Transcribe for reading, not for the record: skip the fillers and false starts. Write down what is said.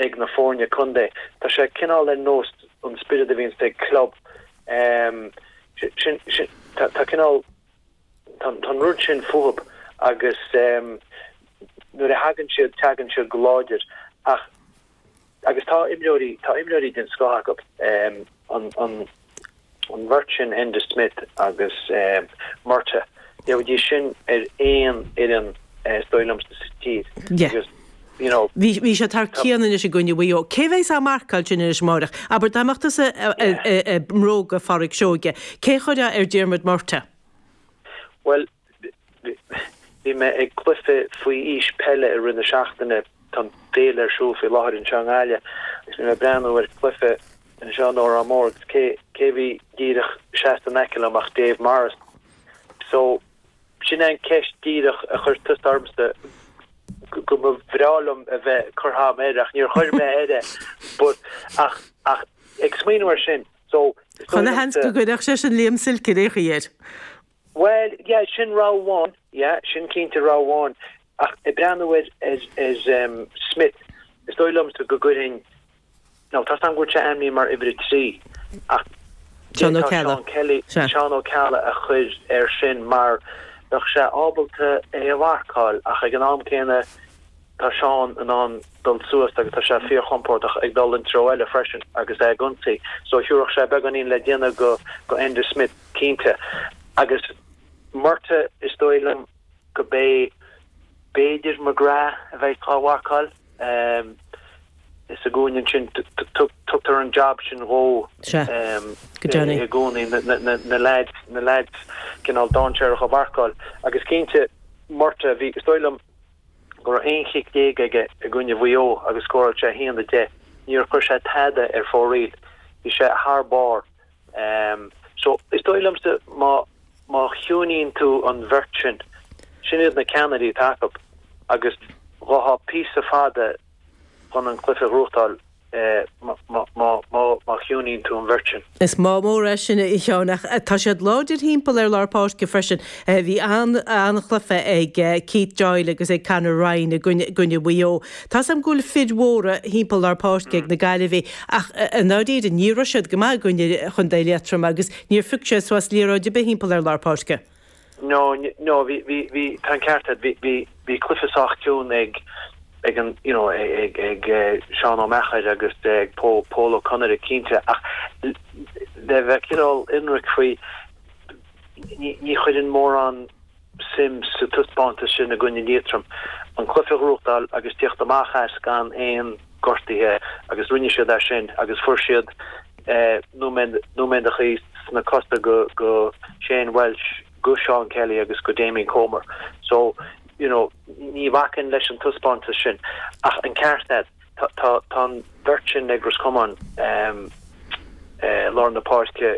ag na foirne contae. Tá sé cineál ar nós an spiorad a bhíonns ag club. Sin, sin, tá, tá cineál, tá, tá an rud sin fúthub agus nuair a thagann siad, tagann siad go láidir ach, agus tá imreoirí, tá imreoirí den scoth acu. An, an, an bheirt sin, Enda Smith agus Murtagh, gheobhaidís sin ar aon fhoireann is dóigh liom sa tír. Agus, you know. Bhí, bhí siad thar cionn anois i gcoinne Mhaigh Eo. Cé bheas á marcáil sin anois amáireach? Abair, dá mbeadh tusa i mbróga Phádraic Seoige, cé a chuirfeá ar Diarmuid Murtagh? Bhuel, Bhí mé ag cluiche faoi aois peile i rith na seachtaine, tá an féile ar siúl faoi láthair anseo i nGaillimh, agus bhí mé ag breathnú ar chluiche anseo in Órán Mór agus cé cé a bhí díreach seasta in aice liom ach Dave Morris. So, sin é an ceist díreach a chuir tusa ormsa go mba bhreá liom a bheith curtha agam air ach níor chuir mé air é but ach ach ag smaoineamh air sin so is dóigh Chuile sheans go gcuirfeadh seisean Liam Silke ar aon chaoi air. Bhuel, yeah, sin rogha amháin, yeah, sin cinnte rogha amháin. Ach ag breathnú ar, ar, ar Smith, is dóigh liomsa go gcuirfinn, now tá's agam go bhfuil sé ainmnithe mar uimhir a 3, ach Seán Ó Ceallaigh. Seán Kelly, Sea. Seán Ó Ceallaigh a chur air sin mar bheadh sé ábalta é a mharcáil ach ag an am céanna tá Seán in ann dul suas agus tá sé fíorchompordach ag dul an treo eile freisin agus é ag ionsaí. So thiúrfadh sé beagáinín le déanamh go, go Enda Smith. Cinnte. Agus Murtagh, is dóigh liom go b'é b'fhéidir McGrath a bheidh á mharcáil sa gcúinne ansin. Tugtar an job sin dhó i gcónaí, na leaids, na leaids cineál dainséarach a mharcáil. Agus cinnte, Murtagh, bhí, is dóigh liom go raibh 11 chic aige i gcoinne Mhaigh Eo agus scóráil sé 1-10. Níor chuir sé tada ar fóraoil. Bhí sé thar barr. So, is dóigh liomsa má, má chiúnaíonn tú an bheirt sin, sin iad na ceannairí atá acu agus gheofá píosa fada chun an cluiche a ghnóthachtáil má, má, má, má chiúnaíonn tú an bheirt sin. Is maith mór é sin, a Sheáin, ach tá siad láidir thimpeall ar lár páirce freisin. Bhí an-chluiche ag Keith Doyle agus ag Conor Ryan i gcoinne Mhaigh Eo. Tá's a'm go bhfuil fir mhóra thimpeall lár páirce ag na Gaillimhigh ach i ndáiríre ní raibh siad go maith i gcoinne Chontae Liatroma agus níor phioc siad suas liathróid ar bith thimpeall ar lár páirce. No, no, bhí, bhí, bhí, tá an ceart agat, bhí, bhí, bhí cluiche sách ciúin ag, ag an, you know, ag, ag Seán Ó Meachair agus ag Pól, Pól Ó Conaire cinnte ach le bheith cineál ionraic faoi, ní, ní chuireann mórán suim sa taispeántas sin i gcoinne Liatroim. An cluiche a ghnóthachtáil agus tíocht amach as gan aon gortuithe agus rinne siad é sin agus fuair siad nóiméadachaí sna cosa go go Shane Walsh, go Seán Kelly agus go Damien Comer. So, you know, ní bhacfainn leis an taispeántas sin ach an ceart agat, tá tá an bheirt sin ag Ros Comáin lár na páirce.